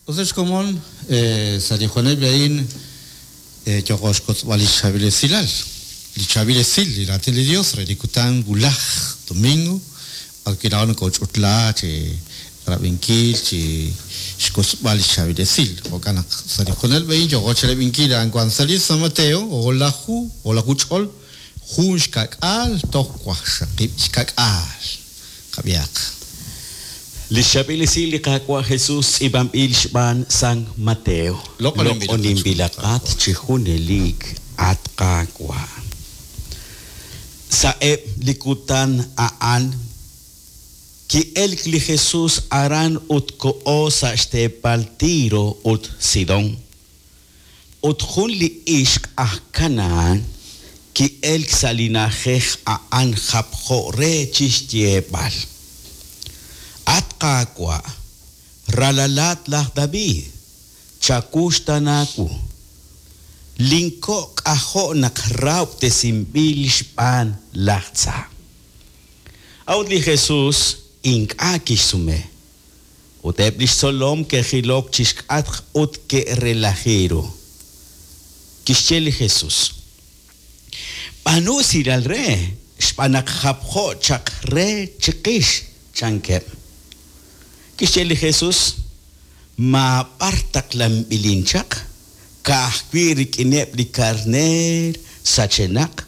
Us ex komon, sa' li joneb' a'in yooqo xkotzb'al li chaab'il esilal, li chaab'il esil, li raatin li Dios re li kutan wulaj, domingo, b'ar wi' laa'o nokoch'utla chi rab'inkil, chi xkotzb'al li chaab'il esil. Jo'kan naq sa' li jonel a'in yooqo chirab'inkil a'an wan sa' li San Mateo, o'laju, o'laju ch'ol, jun xka'k'aal toj waqxaqib' xka'k'aal. Qab'ihaq. Li xchaab'il esil li Qaawa' Jesus tz'iib'anb'il xb'aan San Mateo. Loq'oninb'ilaqat chi junelik, at Qaawa'. Sa'eb' li kutan a'an ki'elk li Jesus aran ut koho sa' xteepal Tiro ut Sidón. Ut jun li ixq aj Kanahán ki'elk sa' li na'ajej a'an japjo re chi xyeeb'al, At Qaawa', ralalat laj David, chawuxtaana wu. Linko' k'ajo' naq rahob'tesinb'il xb'aan laj tza. A'ut li Jesus ink'a' kixsume. Ut eb' li xtzolom ke'jilok chi xk'atq ut ke'relaji ru. Kixye li Jesus, B'aanu usilal re, xb'aan naq japjo chaq re chiqix, chankeb'. Kixye li Jesus, Maab'ar taqlanb'ilin chaq, ka'ajwi' rik'ineb' li karneer sachenaq,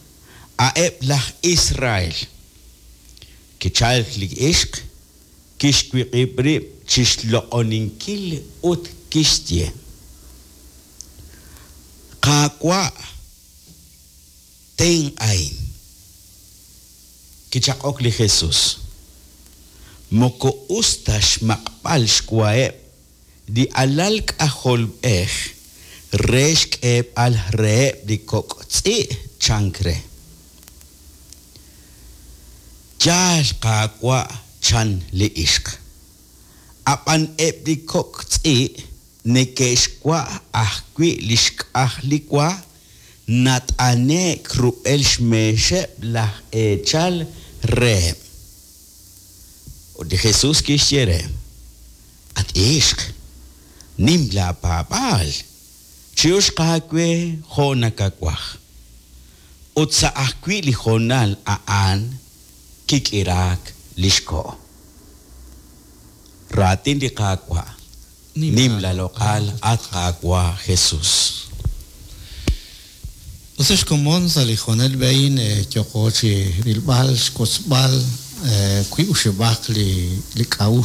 a'eb' laj Israel. Kichalk li ixq, Kixwiq'ib' rib' chi xloq'oninkil ut kixye, Qaawa', tenq'ahin. Kichaq'ok li Jesus, Moko us ta xmaq'b'al xwaheb' li alal k'ajolb'ej re xk'eeb'al reheb' li kok' tz'i', chank re. Yaal, Qaawa', chan li ixq. Ab'an eb' li kok' tz'i' neke'xwa' ajwi' li xk'aj li wa nat'ane'k rub'el xmeexeb' laj eechal reheb'. Ut li Jesús kixye re, At ixq, nim laapaab'aal, chi'uxq aawe jo' nakawaj. Ut sa' ajwi' li hoonal a'an kik'iraak li xko'. Raatin li Qaawa'. Nim laaloq'al, at Qaawa' Jesus. Us ex komon, sa' li hoonal a'in yooqo chi rilb'al, xwotzb'al wiib' oxib'aq li k'a'uxl.